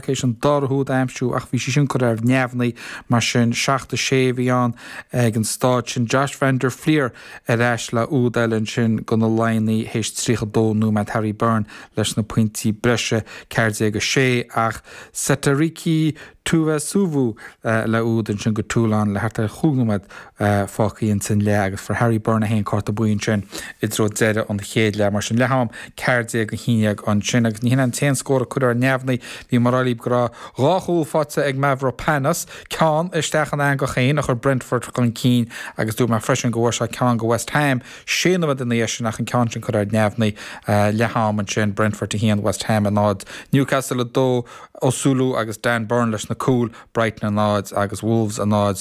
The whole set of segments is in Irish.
théis an dara húd a aimsiú ach bhí sí sin curtha ar neamhní, mar sin 7, 6 a bhí ann ag an staid sin. Josh van der Flier ar ais le úd eile ansin do na Laighnigh théis 32 nóiméad. Harry Byrne leis na pointí breise, 14, 6, ach Setariki Tuicuvu le úd ansin do Toulon le thart ar chúig nóiméad fágtha ins an leath agus fuair Harry Byrne é féin cárta buí ansin i dtreo deireadh an chéad leath. Mar sin leath-am 14, 11 ansin agus ní hin an t-aon scór a cuireadh ar neamhní. Bhí mé ag rá libh go raibh dhá chúl faighte ag Mavropanos, ceann isteach ina eangach féin a chuir Brentford chun cinn agus dúirt mé freisin go bhfuair sé ceann do West Ham sé nóiméad ina dhiaidh sin ach an ceann sin curtha ar neamhní. Leath-am ansin, Brentford 1, West Ham 0, Newcastle 2, Osula agus Dan Burn leis na cúil, Brighton 0 agus Wolves 0,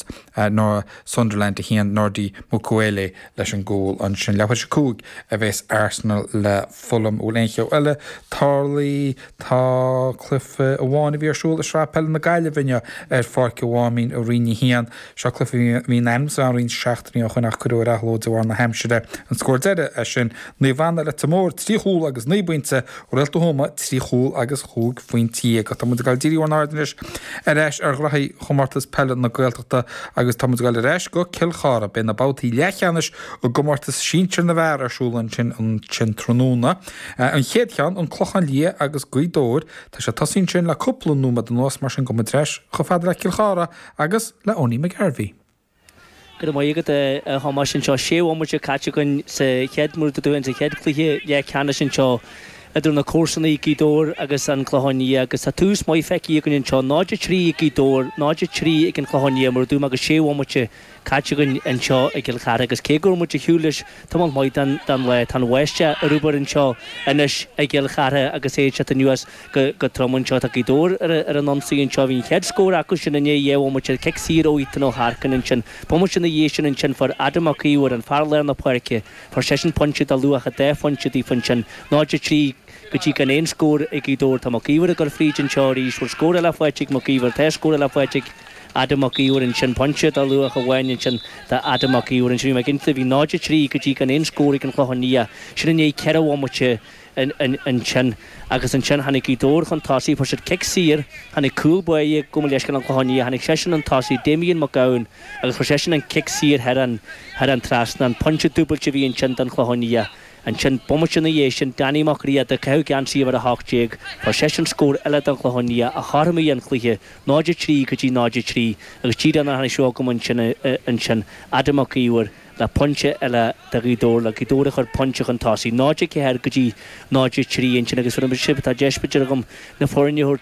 Nor Sunderland 1, Nordi Mukiele leis an gcúl ansin. Leathuair tar éis 5 a bheas Arsenal le Fulham. Bhfuil aon cheo eile tarlaithe? Tá cluiche amháin a bhí ar siúl i Sraith Peile na Gaillimhe inniu ar Pháirc an Mháimín i Roinn 1. Seo cluiche a bhí in ainm is a bheith ann roinnt seachtainí ó shoin ach cuireadh ar athló de bharr na haimsire. An scór deiridh é sin, Naomh Anna Leitir Móir 3 chúl agus 9 bpointe, Réalta Thuama 3 chúl agus 15 phointe. Tá muid ag dul díriú ár n-aird anois ar ais ar ghraithí Chomórtas Peile na Gaeltachta agus tá muid ag dul ar ais go Cill Chartha. Beidh na babhtaí leathcheannais i gcomórtas sinsir na bhfear ar siúl ansin ansin tráthnóna. An chéad cheann, An Clochán Liath agus Gaoth Dobhair. Tá sé tosaithe ansin le cúpla nóiméad anuas, mar sin gabhfaidh muid ar ais chomh fada le Cill Chartha agus le Owenie McGarvey. Go raibh maith agat, a Thomáis. Anseo, sé bhomaite caite againn sa chéad, mar a dúirt tú, sa chéad chluiche leathcheannais anseo idir na comharsanaí, Gaoth Dobhair agus an Clochán Liath agus tá tús maith feicthe againn anseo, 0-3 ag Gaoth Dobhair, 0-3 ag an Clochán Liath, mar a dúirt mé, agus sé bhomaite caite againn anseo i gCill Chartha agus cé go raibh muid ar shiúl leis tamall maith den lá, tá an bháisteach ar obair anseo anois i gCill Chartha agus é ag teacht anuas go trom anseo. Tá Gaoth Dobhair ar an ionsaí anseo. Bhí an chéad scór acu sin i ndiaidh dhá bhomaite, cic saor ó Ethan Ó hEarcáin ansin. Bomaite ina dhiaidh sin ansin fuair Adam Mac Íomhair, an fear lár na páirce, fuair seisean pointe de luach an dá phointe daofa ansin. 0-3 go dtí gan aon scór ag Gaoth Dobhair. Tá Mac Íomhair ag dul fríd anseo arís. Bhfuil scór eile faighte ag Mac Íomhair? Tá scór eile faighte ag Adam Mac Íomhair ansin. Pointe de luach amháin ansin do Adam Mac Íomhair ansin. Bhí mé ag inse, bhí 0-3 go dtí gan aon scór ag an Chlochán Liath. Sin i ndiaidh ceithre bhomaite ansin agus ansin tháinig Gaoth Dobhair chun tosaigh, fuair siad cic saor, tháinig cúl báire, gabh mo leithscéal an Clochán Liath, tháinig seisean chun tosaigh, Damien Mac Gabhann agus chuir seisean an cic saor thar an thar an trasnán, pointe dúbailte a bhí ansin don Chlochán Liath. Ansin, bomaite ina dhiaidh sin, Danny Mac Riada, ag caitheamh geansaí uimhir 18, fuair seisean scór eile don Chlochán Liath a chothromaigh an cluiche, 0-3 go dtí 0-3 agus díreach nuair a tháinig seo chugam ansin ansin, Adam Mac Íomhair, le pointe eile do Ghaoth Dobhair, le Gaoth Dobhair a chur pointe chun tosaigh, 0-4 go dtí 0-3 ansin agus fuair sibh, tá deis b'fhéidir agam na foirne a thabhairt.